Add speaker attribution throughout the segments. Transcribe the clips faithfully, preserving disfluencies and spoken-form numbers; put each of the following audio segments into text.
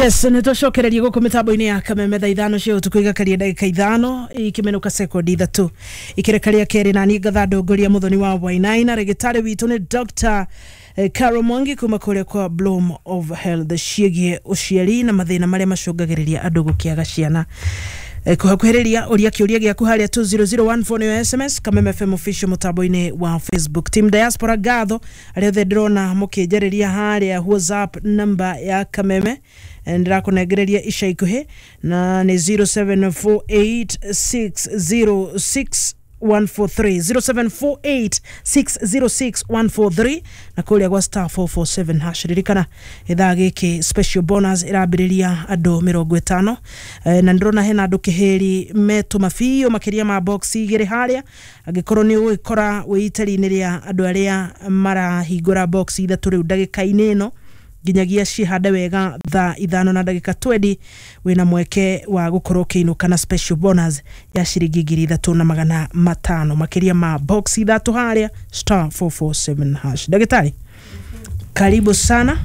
Speaker 1: Yes, nä twacokereria gå kå mä tambo-inä ya Kameme thaa ithano cia ũtukũ igakaria ndagĩka ithano ikĩmenũka sekondi ithatũ ikĩreka rĩa kerĩ na niĩ ngatha ndongoria Mũthoni wa Wainaina. Rĩgĩtarĩ witũ nĩ Doctor Carol Mwangi kuma kũrĩa kwa Bloom of Health ciĩgiĩ ũciari na mathĩna marĩa macũngagĩrĩria andũ gũkĩaga ciana. Kũhakuhĩrĩria ũria kĩũria gĩaku harĩa two zero zero one four nĩyo S M S, Kameme F M official mũtambo-inĩ wa Facebook. Team Diaspora ngatho arĩa othe ndĩrona mũkĩnjarĩria harĩa WhatsApp number ya Kameme ndĩrakũnengereria ica ikuhĩ na nĩ zero seven four eight six zero six one four three, zero seven four eight six zero six one four three na kũrĩa gwa star four four seven hash. Ririkana ithaa gĩkĩ special bonus ĩrambĩrĩria andũ mĩrongo ĩtano na ndĩrona hena andũ kĩhĩri metũma biũ makĩria ma box igĩrĩ harĩa angĩkorwo nĩ ũgũgĩkora wĩ itari-inĩ rĩa andũ arĩa marahingũra box ithatũ rĩu ndagĩka-inĩ ĩno nginyagia cihande wega thaa ithano na ndagĩka twendi wĩna mweke wa gũkorwo ũkĩinũka na special bonus ya ciringi ngiri ithatũ na magana matano makĩria ma box ithatũ harĩa star four four seven hash. Ndagĩtarĩ, karibu sana.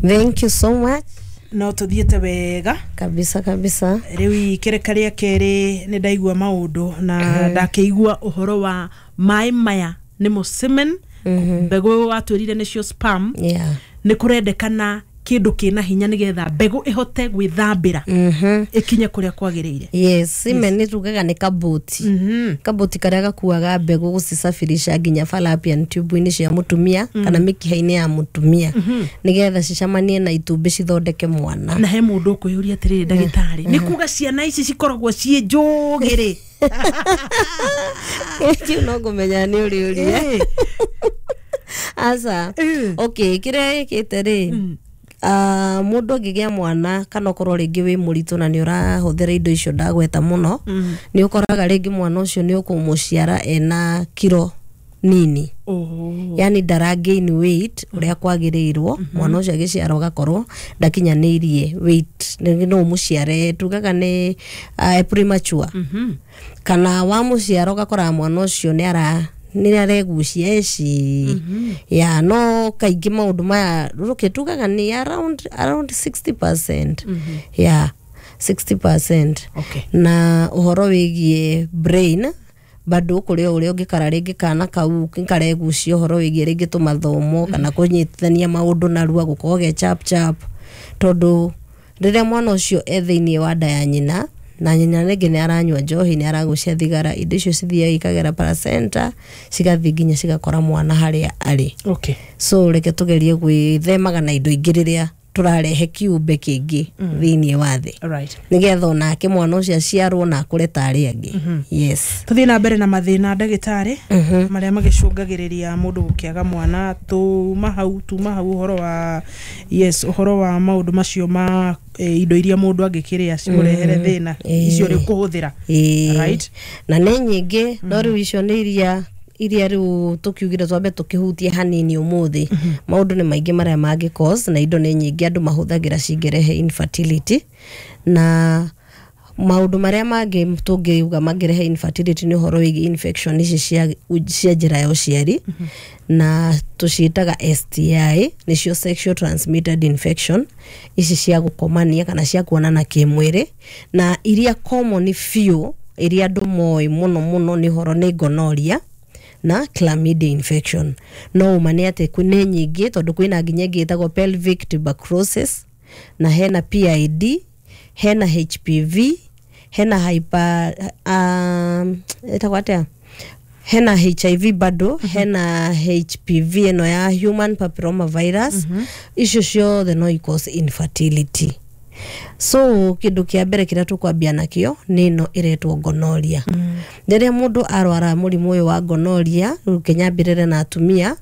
Speaker 2: Thank you so much.
Speaker 1: No tuthiĩte wega
Speaker 2: kabisa kabisa.
Speaker 1: Rĩu ikĩreka rĩa kerĩ nĩ ndaigua maũndũ na ndakĩigua ũhoro wa maĩ maya nĩmo semen, mbegũ watwĩrire nĩcio sperm.
Speaker 2: Yeah.
Speaker 1: Nĩ kũrendekana kĩndũ kĩna hinya nĩgetha mbegũ ĩhote gwĩthambĩra ĩkinye kũrĩa kwagĩrĩire.
Speaker 2: Yes, semen nĩ tugaga nĩ kaboti. Kaboti karĩa gakuaga mbegũ gũcisafirisha nginya fallopian tube-inĩ cia mũtumia kana mĩkiha-inĩ ya mũtumia nĩgetha cicamanie na itumbĩ cithondeke mwana.
Speaker 1: Na he mũndũ ũkwĩyũria atĩrĩrĩ ndagĩtarĩ, nĩ kuga ciana ici cikoragwo ciĩ njũgĩ rĩ?
Speaker 2: Kĩu no ngũmenya nĩ ũrĩũria. Asa, okay, kĩrĩa gĩkĩte rĩ, mũndũ angĩgĩa mwana kana ũkorwo rĩngĩ wĩ mũritũ na nĩ ũrahũthĩra indo icio ndagweta mũno, nĩ ũkoraga rĩngĩ mwana ũcio nĩ ũkũmũciara ena kiro nini. Yani ndara gain weight ũrĩa kwagĩrĩirwo, mwana ũcio agĩciarwo agakorwo ndakinyanĩirie weight, no ũmũciare tugaga nĩ premature. Kana wamũciara ũgakora mwana ũcio nĩ ara nĩ aregucia eci ya no kaingĩ maũndũ maya rũkĩ tugaga nĩ around around sixty percent. Yeah, sixty percent.
Speaker 1: Okay.
Speaker 2: Na ũhoro wĩgiĩ brain bado kũrĩ o ũrĩa ũngĩkara rĩngĩ kana kau karegucia ũhoro wĩgiĩ rĩngĩ tũmathomo kana kũnyitithania maũndũ narua gũkorwo ge chap chap tondũ rĩrĩa mwana ũcio e thĩinĩ wa nda ya nyina na nyina rĩngĩ nĩ aranyua njohi nĩ aragucia thigara indo icio cithiaga ikagera placenta cigathiĩ nginya cigakora mwana harĩa arĩ.
Speaker 1: Okay.
Speaker 2: So reke tũgerie gwĩthemaga na indo ingĩ rĩrĩa tũrarehe kiumbe kĩngĩ thĩinĩ wa thĩ.
Speaker 1: Right.
Speaker 2: Nĩgetha onake mwana ũcio aciarwo na akũre ta arĩa angĩ. Yes.
Speaker 1: Tũthiĩ na mbere na mathĩna ndagĩtarĩ marĩa magĩcũngagĩrĩria mũndũ gũkĩaga mwana. Tuma hau tuma hau ũhoro wa yes ũhoro wa maũndũ macio ma indo iria mũndũ angĩkĩrĩa cimũrehere thĩna icio rĩu kũhũthĩra. Right.
Speaker 2: Na nĩ nyingĩ no rĩu icio nĩ iria iria rĩu tũkiugire twambe tũkĩhutie hanini ũmũthĩ. Maũndũ nĩ maingĩ marĩa mangĩ cause na indo nĩ nyingĩ andũ mahũthagĩra cingĩrehe infertility na maũndũ marĩa mangĩ tũngĩuga mangĩrehe infertility nĩ ũhoro wĩgiĩ infection ici cia cia njĩra ya ũciari na tũciĩtaga S T I nĩcio sexual transmitted infection ici cia gũkomania kana cia kuonana kĩmwĩrĩ na iria common biũ iria andũ moĩ mũno mũno nĩ ũhoro nĩ gonorrhea na chlamydia infection. No ũma nĩ atĩ nĩ nyingĩ tondũ kwĩna nginya ĩngĩ ĩtagwo pelvic tuberculosis na hena P I D hena H P V hena hyper um, ĩtagwo atĩa hena H I V bado hena H P V ĩno ya human papilloma virus. Icio ciothe no i-cause infertility. So kĩndũ kĩa mbere kĩrĩa tũkwambia nakĩo nĩ ĩno ĩretwo gonorrhea. Rĩrĩa mũndũ arwara mũrimũ ũyũ wa gonorrhea rĩu kĩnyambĩrĩre na atumia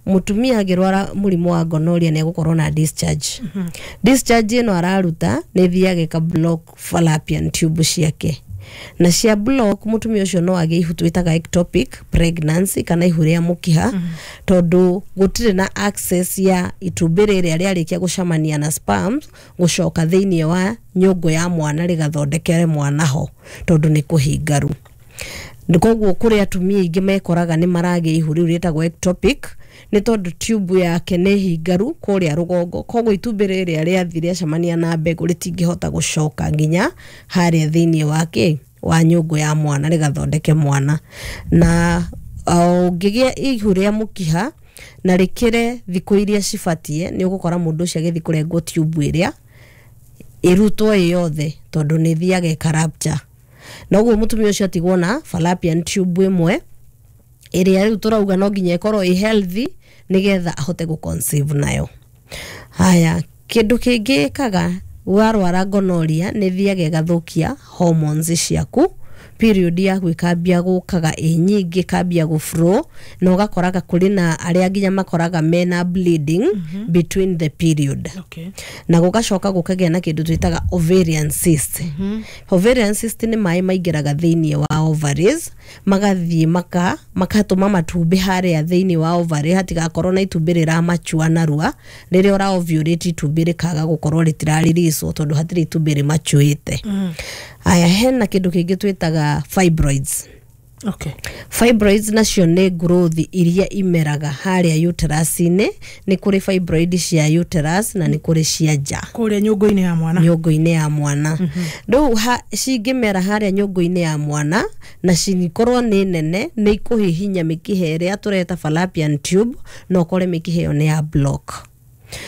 Speaker 2: mũtumia angĩrwara mũrimũ wa gonorrhea nĩ egũkorwo na discharge. Discharge ĩno araruta nĩ ĩthiaga ĩka block fallopian tube ciake na cia block mũtumia ũcio no agĩe ihu twĩtaga ectopic pregnancy kana ihu rĩa mũkiha tondũ gũtirĩ na access ya itumbĩ rĩrĩa rĩarĩkia gũcemania na sperms gũcoka thĩinĩ wa nyũngũ ya mwana rĩgathondekere mwana ho tondũ nĩ kũhingaru. Koguo kũrĩ atumia aingĩ mekoraga nĩ maragĩa ihu rĩu rĩtagwo ectopic Nĩ tondũ tube yake nĩ hingaru kũrĩa rũgongo, koguo itumbĩ rĩrĩa rĩathi rĩacemania na mbegũ rĩtingĩhota gũcoka nginya harĩa thĩinĩ wa kĩ wa nyũngũ ya mwana rĩgathondeke mwana. Na ũngĩgĩa ihu rĩa mũkiha na rĩkĩre thikũ iria cibatie, nĩ ũgũkora mũndũ ũcio agĩthiĩ kũrengwo tube ĩrĩa ĩrutwo ĩ yothe, tondũ nĩ ĩthiaga ĩkarapture, na ũguo mũtumia ũcio atigwo na fallopian tube ĩmwe ĩrĩa rĩu tũrauga no nginya ĩkorwo ĩ healthy nĩgetha ahote gũ conceive nayo. Haya, kĩndũ kĩngĩ ĩkaga warwara gonorrhea nĩ ĩthiaga ĩgathũkia hormones ciaku. Period yaku ĩkambia gũkaga ĩ nyingĩ, ĩkambia gũ flow, na ũgakoraga kũrĩ na arĩa nginya makoraga mena bleeding between the period.
Speaker 1: Okay.
Speaker 2: Na gũgacoka gũkagĩa na kĩndũ twĩtaga ovarian cyst. Ovarian cyst nĩ maĩ maingĩraga thĩinĩ wa ovaries, magathiĩ maka makatũma matumbĩ harĩa thĩinĩ wa ovary hatigakorwo na itumbĩ rĩramachua narua. Rĩrĩa ũra ovulate, itumbĩ rĩkaga gũkorwo rĩtiraririicwo tondũ hatirĩ itumbĩ rĩmachuĩte. Aya, hena kĩndũ kĩngĩ twĩtaga fibroids.
Speaker 1: Okay.
Speaker 2: Fibroids nacio nĩ growth iria imeraga harĩa uterus-inĩ. Nĩ kũrĩ fibroid cia uterus na nĩ kũrĩ cia nja.
Speaker 1: Kũrĩa nyũngũ-inĩ ya mwana.
Speaker 2: Nyũngũ-inĩ ya mwana. Rĩu ha- cingĩmera harĩa nyũngũ-inĩ ya mwana na cikorwo nĩ nene, nĩ ikũhihinya mĩkiha ĩrĩa tũreta fallopian tube, na ũkore mĩkiha ĩyo nĩ ya block.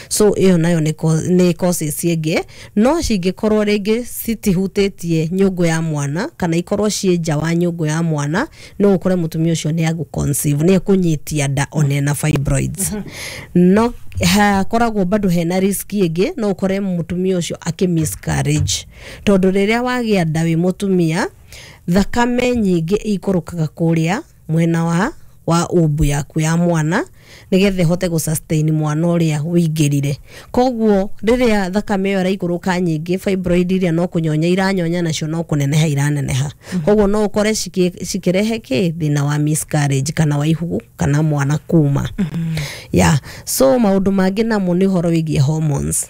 Speaker 2: So ĩyo nayo nĩ co- nĩ causes ĩngĩ. No cingĩkorwo rĩngĩ citihutĩtie nyũngũ ya mwana kana ikorwo ciĩ nja wa nyũngũ ya mwana, no ũkore mũtumia ũcio nĩ agũ conceive, nĩ ekũnyitia nda ona ena fibroids. No hakoragwo bado hena risk ĩngĩ, no ũkore mũtumia ũcio akĩ miscarriage, tondũ rĩrĩa wagĩa nda wĩ mũtumia, thakame nyingĩ ikũrũkaga kũrĩa mwena wa wa umbu yaku ya mwana nigetha ĩhote gũ sustain mwana ũrĩa wĩingĩrire. Koguo rĩrĩa thakame ĩyo ĩraikũrũka nyingĩ, fibroid iria no kũnyonya iranyonya, nacio no kũneneha iraneneha. Koguo no ũkore cikĩ- cikĩrehe kĩ thĩna wa miscarriage kana wa ihu kana mwana kuma ya. So maũndũ mangĩ namo nĩ ũhoro wĩgiĩ hormones.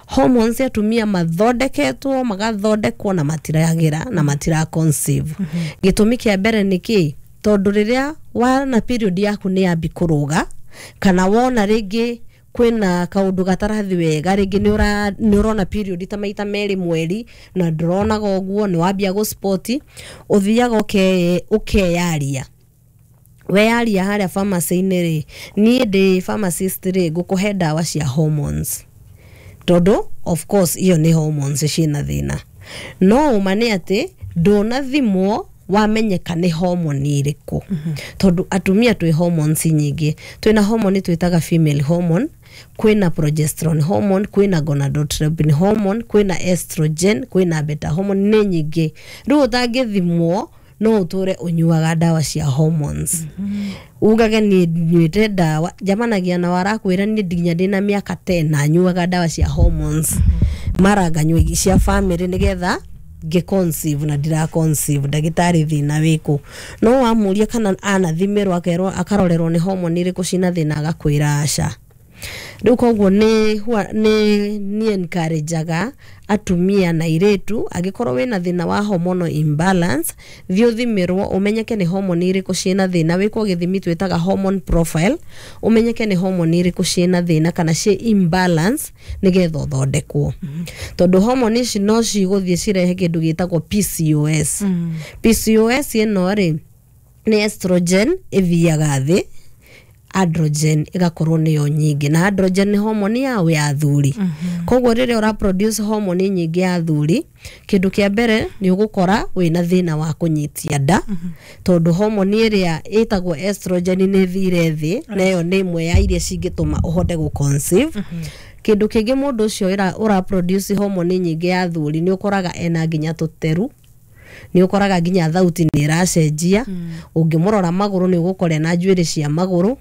Speaker 2: Hormones atumia mathondeketwo, magathondekwo na matiragĩra na matira conceive. Gĩtũmi kĩa mbere nĩ kĩ? Tondũ rĩrĩa wana period yaku nĩ yambi kũrũga, kana wona rĩngĩ kwĩna kaũndũ gatarathi wega, rĩngĩ nĩ ũra- nĩ ũrona period ta maita merĩ mweri na ndũronaga ũguo, nĩ wambia gũ spot, ũthiaga ũke- ũkeyaria. Weyaria harĩa pharmacy-inĩ rĩ, niĩ ndĩ pharmacist rĩ, ngũkũhe ndawa cia hormones, tondũ of course iyo nĩ hormones ciĩna thĩna. No ũma nĩ atĩ ndũnathimwo wamenyeka nĩ hormone ĩrĩkũ, tondũ atumia twĩ hormones nyingĩ. Twĩna hormone twĩtaga female hormone, kwĩna progesterone hormone, kwĩna gonadotropin hormone, kwĩna estrogen, kwĩna beta hormone, nĩ nyingĩ. Rĩu ũtangĩthimwo no ũtũre ũnyuaga ndawa cia hormones, ugage niĩ nyuĩte ndawa. Njamanagia na warakwĩra niĩ nginya ndĩna mĩaka ten na nyuaga ndawa cia hormones, mara nganyua cia family nĩgetha ngĩ conceive na ndira conceive, ndagĩtarĩ thĩna wĩkũ? No wamũria kana anathimĩrwo, akerwo, akarorerwo nĩ hormone irĩkũ cina thĩna, agakwĩra aca. Rĩu koguo nĩ hua- nĩ nĩ encourageaga atumia na airĩtu, angĩkorwo wĩna thĩna wa hormonal imbalance, thiĩ ũthimĩrwo ũmenyeke nĩ hormone irĩkũ ciĩna thĩna, wĩkwo gĩthimi twĩtaga hormone profile, ũmenyeke nĩ hormone irĩkũ ciĩna thĩna kana ciĩ imbalance, nĩgetha ũthondekwo, tondũ hormone ici no cigũthiĩ cirehe kĩndũ gĩtagwo P C O S. P C O S ĩno rĩ, nĩ estrogen ĩthiaga thĩ, androgen ĩgakorwo nĩyo nyingĩ, na androgen nĩ hormone yao ya athuri. Koguo rĩrĩa ũra produce hormone nyingĩ ya athuri, kĩndũ kĩa mbere nĩ ũgũkora wĩna thĩna wa kũnyitia nda, tondũ hormone ĩrĩa ĩtagwo estrogen nĩ ĩthire thĩ, na ĩyo nĩ ĩmwe ya iria cingĩtũma ũhote gũ conceive. Kĩndũ kĩngĩ, mũndũ ũcio ĩra- ũra produce hormone nyingĩ ya athuri nĩ ũkoraga ena nginya tũteru, nĩ ũkoraga nginya thauti nĩ ĩracenjia. Ũngĩmũrora magũrũ, nĩ ũgũkora na njuĩrĩ cia magũrũ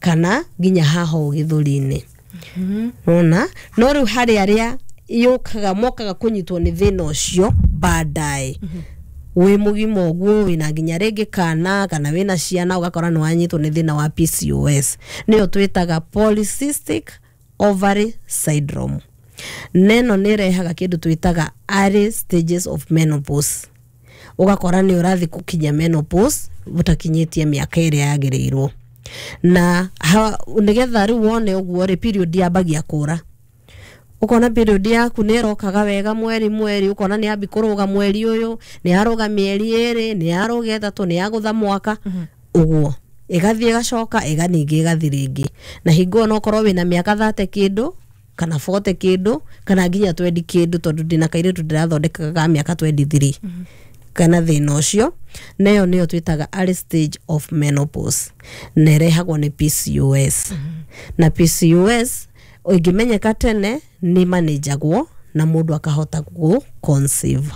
Speaker 2: kana nginya haha ũũ gĩthũri-inĩ nona. No rĩu harĩ arĩa yũkaga, mokaga kũnyitwo nĩ thĩna ũcio baadaye wĩ mũgima ũguo, wĩna nginya rĩngĩ kana kana wĩna ciana, ũgakora nĩ wanyitwo nĩ thĩna wa P C O S, nĩyo twĩtaga polycystic ovary syndrome. Neno nĩ ĩrehaga kĩndũ twĩtaga early stages of menopause, ũgakora nĩ ũrathiĩ gũkinya menopause ũtakinyĩtie mĩaka ĩrĩa yagĩrĩirwo. Na ha, nĩgetha rĩu wone ũguo rĩ, period yambagia kũra, ukona period yaku nĩ ĩrokaga wega mweri mweri, ukona nĩ yambi kũrũga mweri ũyũ, nĩ yarũga mĩeri ĩrĩ, nĩ yarũga ĩtatũ, nĩ yagũtha mwaka ũguo, ĩgathiĩ ĩgacoka ĩga ningĩ ĩgathiĩ rĩngĩ. Na hingo ĩyo no ũkorwo wĩna mĩaka thate kĩndũ kana bote kĩndũ kana nginya twendi kĩndũ, tondũ ndĩna kairĩtu ndĩrathondekaga ga mĩaka twenty-three kana thĩna ũcio. Na ĩyo nĩyo twĩtaga early stage of menopause, na ĩrehagwo nĩ P C O S. Na P C O S ĩngĩmenyeka tene nĩ manĩjagwo na mũndũ akahota gũ conceive.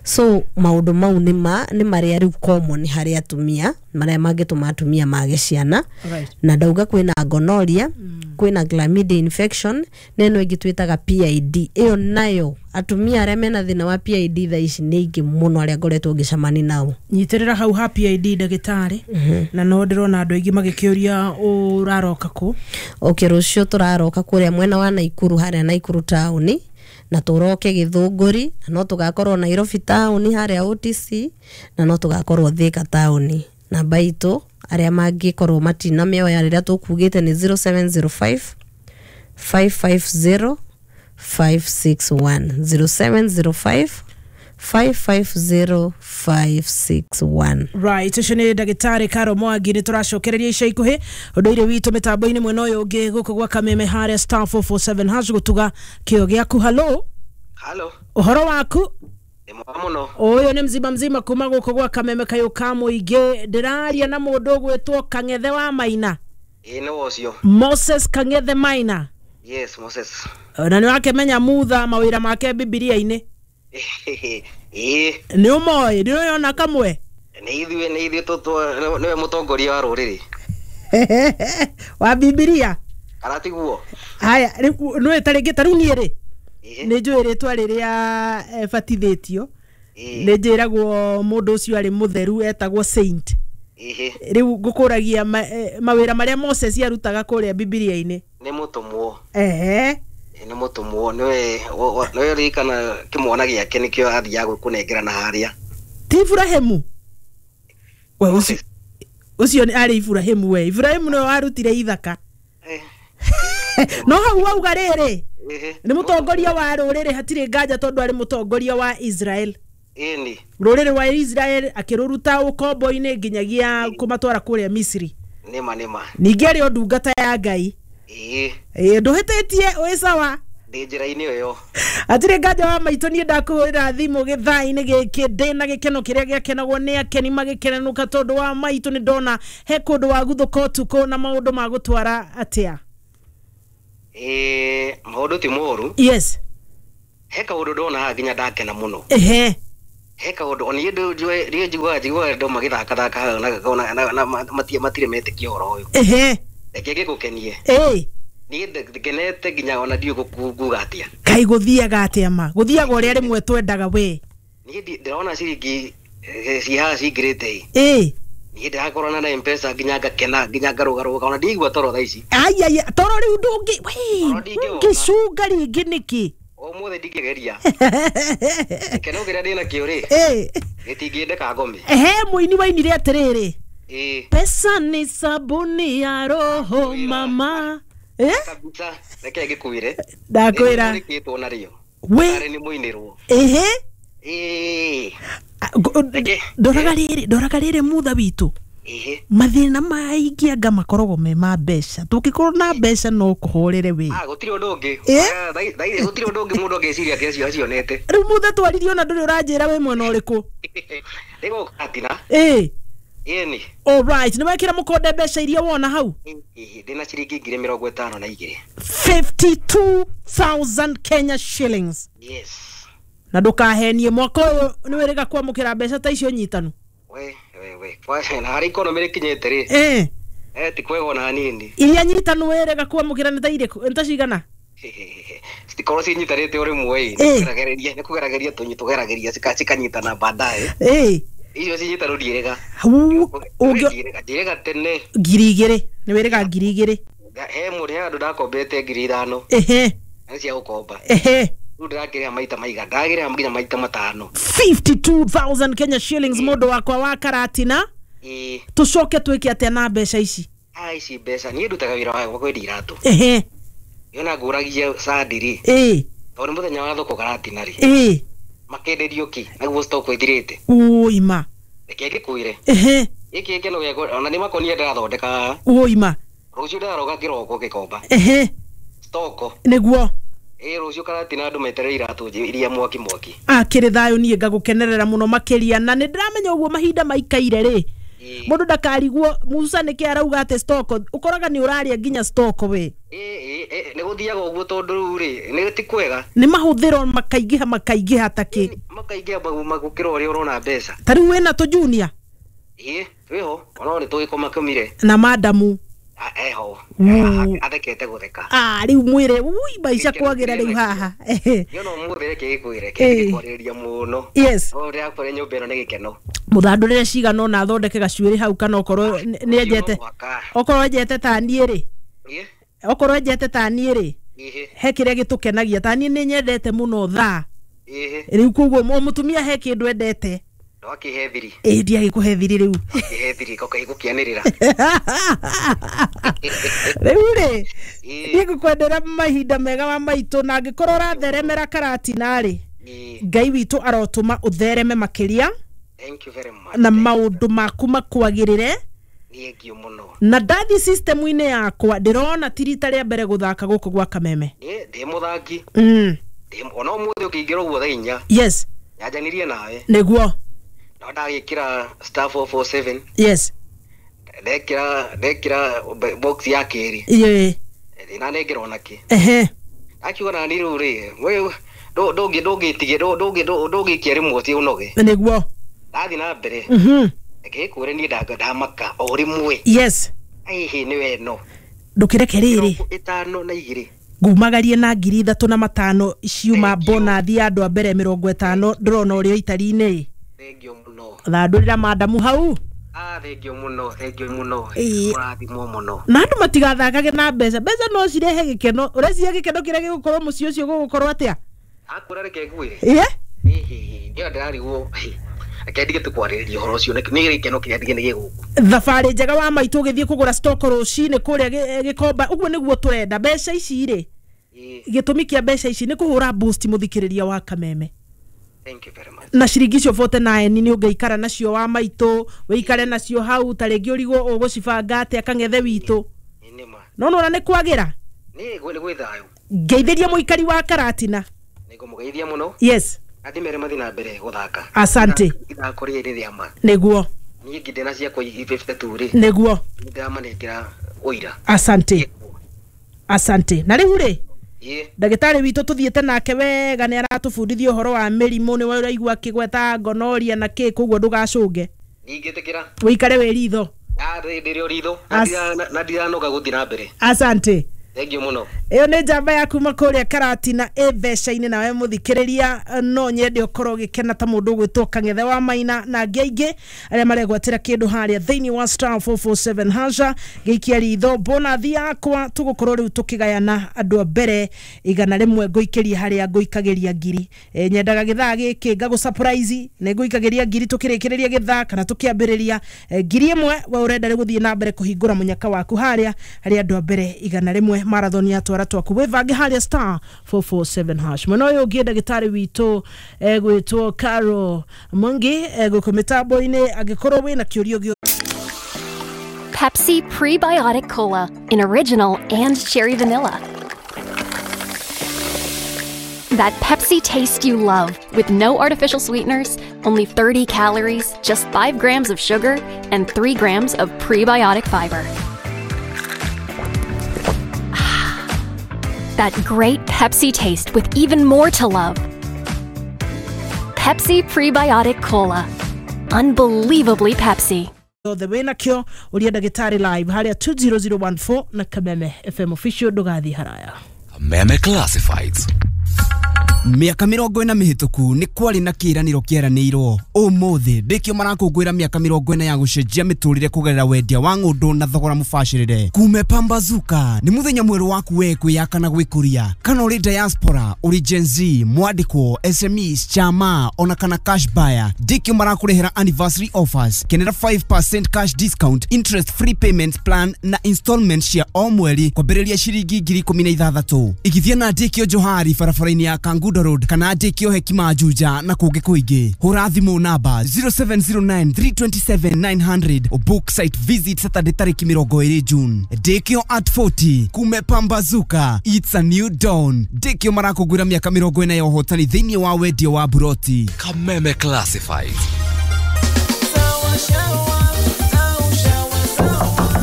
Speaker 2: So maũndũ mau nĩ ma nĩ marĩa rĩu common harĩ atumia, marĩa mangĩtũma atumia mage ciana.
Speaker 1: Right.
Speaker 2: Na ndauga kwĩna gonorrhea, kwĩna chlamydia infection, na ĩno ĩngĩ twĩtaga P I D. Ĩyo nayo atumia arĩa mena thĩna wa P I D thaa ici nĩ aingĩ mũno arĩa ngoretwo ngĩcemania nao.
Speaker 1: Nyitĩrĩra hau ha P I D, ndagĩtarĩ, na no ndĩrona andũ aingĩ magĩkĩũria ũraroka kũ.
Speaker 2: Okay, rũciũ tũraroka kũrĩa mwena wa Naikuru, harĩa Naikuru taũni, na tũroke Gĩthũngũri, na no tũgakorwo Nairobi taũni harĩa O T C, na no tũgakorwo Thĩka taũni. Namba itũ arĩa mangĩkorwo matinamĩoya rĩrĩa tũkugĩte nĩ zero seven zero five five five zero five six one, zero seven zero five five five zero five six one.
Speaker 1: Right, ũcio nĩ ndagĩtarĩ Karo Mwangi. Nĩ tũracokereria ica ikuhĩ ũndũire witũ mĩtambo-inĩ mwena ũyũ ũngĩ gũkũ gwa Kameme harĩa star four four seven hash gũtuga kĩo gĩaku. Halo.
Speaker 3: Halo.
Speaker 1: Ũhoro waku?
Speaker 3: Nĩ mwega mũno.
Speaker 1: Ũyũ nĩ mzima mzima kuma gũkũ gwa Kameme kayũ ka mũingĩ. Ndĩraria na mũndũ ũgwĩtwo Kang'ethe wa Maina?
Speaker 3: Ĩĩ, nĩwe ũcio.
Speaker 1: Moses Kang'ethe Maina?
Speaker 3: Yes, Moses.
Speaker 1: Na nĩ wakĩmenya mutha mawĩra make Bibilia-inĩ?
Speaker 3: Ĩĩ.
Speaker 1: Nĩ ũmoĩ? Nĩ ũyona kamwe?
Speaker 3: Nĩ ithuĩ nĩ ithuĩ tũ nĩwe mũtongoria wa rũrĩrĩ.
Speaker 1: Wa Bibilia.
Speaker 3: Kana tiguo?
Speaker 1: Haya, rĩu nĩ ta rĩngĩ ta rĩu niĩ rĩ,
Speaker 3: Ĩĩ.
Speaker 1: nĩ njũĩ rĩtwa rĩrĩa eh, batithĩtio.
Speaker 3: Ĩĩ.
Speaker 1: Nĩ njĩragwo mũndũ ũcio arĩ mũtheru etagwo saint.
Speaker 3: Ĩhĩ.
Speaker 1: Rĩu ngũkũragia ma, eh, mawĩra marĩa Moses arutaga kũrĩa Bibilia-inĩ.
Speaker 3: Nĩ mũtũmwo.
Speaker 1: Ehe.
Speaker 3: Ĩĩ, nĩ mũtũmwo, nĩwe wa- wa- nĩwe ririkana kĩmwana gĩake nĩkĩo athiaga kũnengerana harĩa.
Speaker 1: Ti Iburahĩmu we ũcio? Ũcio nĩ arĩ Iburahĩmu. We Iburahĩmu nĩwe warutire ithaka.
Speaker 3: Eh,
Speaker 1: no hau wauga rĩrĩ,
Speaker 3: ĩhĩ.
Speaker 1: Nĩ mũtongoria wa rũrĩrĩ, hatirĩ nganja, tondũ arĩ mũtongoria wa Israel.
Speaker 3: Ĩni.
Speaker 1: Rũrĩrĩ rwa Israel akĩrũruta ũkombo-inĩ nginyagia kũmatwara kũrĩa Misiri.
Speaker 3: Nĩma nĩma.
Speaker 1: Ningĩ arĩ o ndungata ya Ngai.
Speaker 3: Ĩĩ.
Speaker 1: Ĩ, ndũhĩtĩtie, wĩ sawa.
Speaker 3: Ndĩ njĩra-inĩ ĩyo.
Speaker 1: Hatirĩ nganja wa maitũ, niĩ ndakũhũrĩra thimũ gĩthaa-inĩ gĩkĩ ndĩna gĩkeno kĩrĩa gĩakenagwo nĩ akeni magĩkenenũka, tondũ wa maitũ nĩ ndona he kũndũ waguthũka ũtukũ na maũndũ ma gũtwara atĩa.
Speaker 3: Ĩĩ, maũndũ ti moru.
Speaker 1: Yes.
Speaker 3: He kaũndũ ndona haha nginya ndakena mũno.
Speaker 1: Ehe.
Speaker 3: He kaũndũ ona niĩ ndũ- njiguaga njiguaga andũ magĩthakathaka haha na- na- na matirĩ matirĩ metĩkia ũhoro ũyũ.
Speaker 1: Ehe.
Speaker 3: Reke ngĩgũkenie.
Speaker 1: Ĩ.
Speaker 3: Niĩ ndĩ- ngenete nginya ona ndiũĩ gũku- nguga atĩa.
Speaker 1: Kai, gũthiaga atĩa? Ma gũthiaga ũrĩa rĩmwe twendaga we.
Speaker 3: Niĩ ndi- ndĩrona ciringi eh, ci haha cingĩrĩte ĩ.
Speaker 1: Ĩ.
Speaker 3: Niĩ ndĩrakorana na Mpesa nginya ngakena nginya ngarũgarũga, ona ndiigua toro thaa ici.
Speaker 1: Aiai, toro rĩu ndũngĩ we.
Speaker 3: Toro ndingĩwona.
Speaker 1: Ũngĩcunga rĩngĩ nĩkĩ?
Speaker 3: Ũmũthĩ ndingĩgeria gĩkeno kĩrĩa ndĩnakĩo rĩ,
Speaker 1: Ĩ.
Speaker 3: gĩtingĩndeka ngome.
Speaker 1: Ehe, mũini wainire atĩrĩrĩ,
Speaker 3: Ĩĩ.
Speaker 1: "Pesa ni sabuni ya roho mama", eh?
Speaker 3: Kabisa, reke ngĩkwĩre.
Speaker 1: Ndakwĩra.
Speaker 3: Nĩkĩtwo narĩo.
Speaker 1: We.
Speaker 3: Arĩ nĩ mũinĩrwo.
Speaker 1: Ehe.
Speaker 3: Ĩĩ.
Speaker 1: A- ngo-
Speaker 3: Reke.
Speaker 1: Ndoraga rĩrĩ, ndoraga rĩrĩ, mutha witũ.
Speaker 3: Ĩhĩ.
Speaker 1: Mathĩna maingĩ anga makoragwo me ma mbeca. Tũngĩkorwo na mbeca no kũhũrĩre wĩ.
Speaker 3: Ah, gũtirĩ ũndũ ũngĩ.
Speaker 1: Ĩ?
Speaker 3: Ah, thaa- thaa ici gũtirĩ ũndũ ũngĩ mũndũ angĩciria atĩ acio acionete.
Speaker 1: Rĩu mutha twaririe ona ndũrĩ ũranjĩra wĩ mwena ũrĩkũ.
Speaker 3: Nĩ gũkatina.
Speaker 1: Ĩ.
Speaker 3: Ĩni.
Speaker 1: Alright, nĩ wekĩra mũkonde mbeca iria wona hau?
Speaker 3: Ĩhĩ, ndĩna ciringi ngiri mĩrongo ĩtano na igĩrĩ.
Speaker 1: fifty-two thousand Kenya shillings?
Speaker 3: Yes.
Speaker 1: Na ndũkahenie, mwaka ũyũ nĩ wĩrĩga kwamũkĩra mbeca ta icio nyitanu?
Speaker 3: We we we, kwa na harĩa economy rĩkinyĩte rĩ,
Speaker 1: ĩ.
Speaker 3: eh ti kwega ona hanini.
Speaker 1: Iria nyitanu wĩrĩga kwamũkĩra nĩ ta irĩkũ, nĩ ta cigana?
Speaker 3: Citikorwo cinyitanĩte o rĩmwe ĩ.
Speaker 1: Ĩ.
Speaker 3: Nĩ kũgerageria nĩ kũgerageria tũnyi tũgerageria cika- cikanyitana baadaye.
Speaker 1: Ĩ.
Speaker 3: Icio cinyitanu ndiĩrĩga.
Speaker 1: Hau ũngĩ
Speaker 3: Njĩrĩga tene.
Speaker 1: Ngiri igĩrĩ, nĩ wĩrĩga ngiri igĩrĩ?
Speaker 3: He mũndũ, he andũ ndakombete ngiri ithano.
Speaker 1: Ehe.
Speaker 3: Na nĩ cia gũkomba.
Speaker 1: Ehe.
Speaker 3: Rĩu ndĩrakĩrĩha maita maiga ndagĩrĩha nginya maita matano.
Speaker 1: fifty-two thousand Kenya shillings, mũndũ wakwa wa Karatina.
Speaker 3: Ĩ.
Speaker 1: Tũcoke twĩke atĩa na mbeca ici?
Speaker 3: Ah, ici mbeca niĩ ndutaga wĩra wa kwendia iratũ.
Speaker 1: Ehe.
Speaker 3: Yona ngũragia candi rĩ.
Speaker 1: Ĩĩ.
Speaker 3: Tondũ nĩ mũthenya wa thoko Karatina rĩ.
Speaker 1: Ĩĩ.
Speaker 3: Makenderio kĩ naguo stock ĩthirĩte.
Speaker 1: Ũima.
Speaker 3: Reke ngĩkwĩre.
Speaker 1: Ehe.
Speaker 3: Gĩkĩ gĩkeno gĩakwa ona nĩ makonia ndĩrathondeka.
Speaker 1: Ũima.
Speaker 3: Rũciũ ndĩraroga kĩroko gĩkomba.
Speaker 1: Ehe.
Speaker 3: Stoko.
Speaker 1: Nĩguo.
Speaker 3: Ĩĩ, rũciũ Karatina andũ meterere iratũ iria mwaki mwaki.
Speaker 1: Akĩrĩ thayũ, niĩ ngagũkenerera mũno makĩria, na nĩ ndĩramenya ũguo mahinda maikaire rĩ, mũndũ ndakarigwo Musa nĩkĩ arauga atĩ stock, ũkoraga nĩ ũrarĩa nginya stock we.
Speaker 3: Ĩĩ, ĩĩ, nĩ gũthiaga ũguo tondũ rĩu rĩ nĩ ti kwega.
Speaker 1: Nĩ mahũthĩro makaingĩha makaingĩha takĩ.
Speaker 3: Makaingĩha gũkĩra ũrĩa ũrona mbeca.
Speaker 1: Ta rĩu wĩna tũ junior?
Speaker 3: Ĩĩ, twĩho ona nĩ tũgĩkoma kũmire.
Speaker 1: Na madamu?
Speaker 3: Eho, athekete gũtheka.
Speaker 1: Ah, rĩu mwĩre ui maica kwagĩra rĩu haha.
Speaker 3: Niĩ no mũthĩ reke gĩkwĩre kĩngĩkwarĩrĩria mũno.
Speaker 1: Yes.
Speaker 3: No ndĩrakwĩra nyũmba ĩno nĩ gĩkeno.
Speaker 1: Mũthandũrĩre cigana ũna athondeke gacuĩrĩ hau, kana okorwo nĩ enjete, okorwo enjete ta niĩ rĩ, okorwo enjete ta niĩ rĩ, he kĩrĩa gĩtũkenagia, ta niĩ nĩ nyendete mũno thaa. Rĩu koguo o mũtumia he kĩndũ endete.
Speaker 3: Ndwakĩhe thiri.
Speaker 1: Ĩĩ, ndiagĩkũhe thiri rĩu.
Speaker 3: Ndwakĩhe thiri koka igũkĩanĩrĩra.
Speaker 1: Rĩu rĩ, niĩ ngũkwendera mahinda mega wa maitũ, na angĩkorwo ũratheremera Karatina rĩ, Ngai witũ arotũma ũthereme makĩria.
Speaker 3: Thank you very much.
Speaker 1: Na maũndũ maku makwagĩrĩre.
Speaker 3: Thank you mũno.
Speaker 1: Na ndathi system-inĩ yakwa ndĩrona ti rita rĩa mbere gũthaka gũkũ gwa Kameme.
Speaker 3: Ĩĩ, ndĩ mũthaki.
Speaker 1: Mm.
Speaker 3: Ona ũmũthĩ ũkĩingĩra ũguo thaa inya.
Speaker 1: Yes.
Speaker 3: Nyanjanirie nawe.
Speaker 1: Nĩguo.
Speaker 3: No ndagĩkĩra star four four seven.
Speaker 1: Yes.
Speaker 3: Ndekĩra ndekĩra box ya kerĩ.
Speaker 1: Ĩĩ.
Speaker 3: Ndinanengera ona kĩ.
Speaker 1: Ehe.
Speaker 3: Akiuga nani rĩu rĩ, we ndũngĩ ndũngĩtige ndũngĩ ndũngĩikia rĩmwe ti ũnoge.
Speaker 1: Nĩguo.
Speaker 3: Ndathiĩ na mbere.
Speaker 1: Mhm.
Speaker 3: Reke ngĩkwĩre niĩ ndamaka o rĩmwe.
Speaker 1: Yes.
Speaker 3: Aihi nĩ weno.
Speaker 1: Ndũkĩreke rĩrĩ.
Speaker 3: Ĩtano na igĩrĩ.
Speaker 1: Ngumagarie na ngiri ithatũ na matano ciuma bonathi ya andũ a mbere mĩrongo ĩtano ndĩrona ũrĩa itari-inĩ.
Speaker 3: Thengiũ mũno.
Speaker 1: Thandũrĩra madamu hau.
Speaker 3: Ah, thengiũ mũno, thengiũ mũno. Mũrathimwo mũno.
Speaker 1: Na andũ matigathakage na mbeca. Mbeca no cirehe gĩkeno. Ũreciria gĩkeno kĩrĩa gĩgũkorwo mũciĩ ũcio gũgũkorwo atĩa?
Speaker 3: Akwĩra reke ngwĩre.
Speaker 1: Ĩĩ?
Speaker 3: Ĩĩ, ndio ndĩrarigwo. Reke ndige tũkwarĩrĩria ũhoro ũcio, nĩ gĩkeno kĩrĩa ndige nĩ gĩgũkũ.
Speaker 1: Thabarĩ njega wa maitũ ũgĩthiĩ kũgũra stock rũcinĩ kũrĩa Gĩkomba. Ũguo nĩguo tũrenda. Mbeca ici rĩ, gĩtũmi kĩa mbeca ici nĩ kũhũra boost mũthikĩrĩria wa Kameme.
Speaker 3: Thank you very much.
Speaker 1: Na ciringi icio forty-nine nĩ ũngĩikara nacio wa maitũ, wĩikare nacio hau, ta rĩngĩ ũrigwo ũgũcibanga atĩa kang'ethe witũ. No nona nĩ kwagĩra?
Speaker 3: Nĩ gwĩ thayũ.
Speaker 1: Ngeithĩria mũikari wa Karatina.
Speaker 3: Nĩngũmũgeithia mũno.
Speaker 1: Yes.
Speaker 3: Andĩ mere mathiĩ na mbere gũthaka.
Speaker 1: Asante.
Speaker 3: Ithako rĩrĩ rĩa ma.
Speaker 1: Nĩguo.
Speaker 3: Niĩ nginde ciakwa fifty-two rĩ.
Speaker 1: Nĩguo.
Speaker 3: Nĩndĩramanengera ũira.
Speaker 1: Asante. Asante. Na rĩu rĩ, ndagĩtarĩ witũ tũthiĩte nake wega nĩ aratũbundithia ũhoro wa mĩrimũ, nĩ ũraigua akĩgweta gonorrhea na kĩ, koguo ndũgacũnge.
Speaker 3: Ndingĩtĩkĩra.
Speaker 1: Wĩikare wĩ ritho.
Speaker 3: Ndĩrĩ o ritho na ndiranoga gũthiĩ na mbere.
Speaker 1: Asante.
Speaker 3: Thank you mũno.
Speaker 1: Ĩyo nĩ njamba ya kuma kũrĩa Karatina ĩ mbeca-inĩ, nawe mũthikĩrĩria no nyende ũkorwo ũgĩkena ta mũndũ ũgwĩtwo Kang'ethe wa Maina na angĩ aingĩ arĩa maregwatĩra kĩndũ harĩa thĩinĩ wa star four four seven hasha. Gĩikia ritho bonathi yakwa tũgũkorwo rĩu tũkĩgayana andũ a mbere igana rĩmwe ngũikĩria harĩa ngũikagĩria ngiri. E, nyendaga gĩthaa gĩkĩ ngagũ surprise nĩ ngũikagĩria ngiri tũkĩrĩkĩrĩria gĩthaa kana tũkĩambĩrĩria e, ngiri ĩmwe we ũrenda rĩ gũthiĩ na mbere kũhingũra mũnyaka waku harĩa harĩa andũ a mbere igana rĩmwe marathon ya twara twaku wĩvange harĩa star four four seven hash. Mwena ũyũ ũngĩ ndagĩtarĩ witũ egwĩtwo Carol Mwangi egũkũ mĩtambo-inĩ angĩkorwo wĩna kĩũria gĩothe.
Speaker 4: Pepsi Prebiotic Cola in original and cherry vanilla. That Pepsi taste you love with no artificial sweeteners, only thirty calories, just five grams of sugar, and three grams of prebiotic fiber. That great Pepsi taste with even more to love. Pepsi Prebiotic Cola. Unbelievably Pepsi.
Speaker 1: The wĩnakĩo ũria ndagĩtarĩ live harĩa two zero zero one four na Kameme F M official ndũgathiĩ haraya.
Speaker 5: Kameme Classifieds. Mĩaka mĩrongo ĩna mĩhĩtũku nĩ kwarĩ na kĩĩranĩro kĩeranĩirwo. Ũmũthĩ ndĩkĩo marakũngũĩra mĩaka mĩrongo ĩna ya gũcenjia mĩtũrĩre kũgerera wendia wa ng'ũndũ na thogora mũbacĩrĩre. Kume pambazuka nĩ mũthenya mwerũ waku we kwĩyaka na gwĩkũria. Kana ũrĩ diaspora, ũrĩ Gen Z, mwandĩkwo, S M Es, chama ona kana cash buyer, ndĩkĩo marakũrehera anniversary offers. Kenera five percent cash discount, interest free payment plan na installment cia o mweri kwambĩrĩria ciringi ngiri ikũmi na ithathatũ. Igithia na ndĩkĩo Johari barabara-inĩ ya Kangundo Road kana ndĩkĩo Hekima Juja na kũngĩ kũingĩ. Hũra thimũ namba zero seven zero nine three two seven nine hundred book site visit Saturday tarĩki mĩrongo ĩrĩ June. Ndĩkĩo at forty kume pambazuka, it's a new dawn. Ndĩkĩo marakũngũĩra mĩaka mĩrongo ĩna ya ũhotani thĩinĩ wa wendia wa buroti.
Speaker 6: Kameme Classifieds.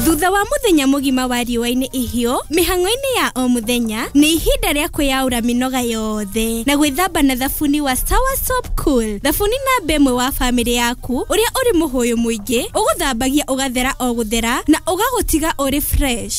Speaker 7: Thutha wa muthenya mugima wa riũa-inĩ ihiũ, mĩhang'o-inĩ ya o muthenya nĩ ihinda rĩa kwĩyaũra mĩnoga yothe na gwĩthamba na thabuni wa Sawa Soap Cool. Thabuni namba ĩmwe wa bamĩrĩ yaku ũrĩa ũrĩ mũhũyũ mũingĩ, ũgũthambagia ũgathera o gũthera na ũgagũtiga ũrĩ fresh.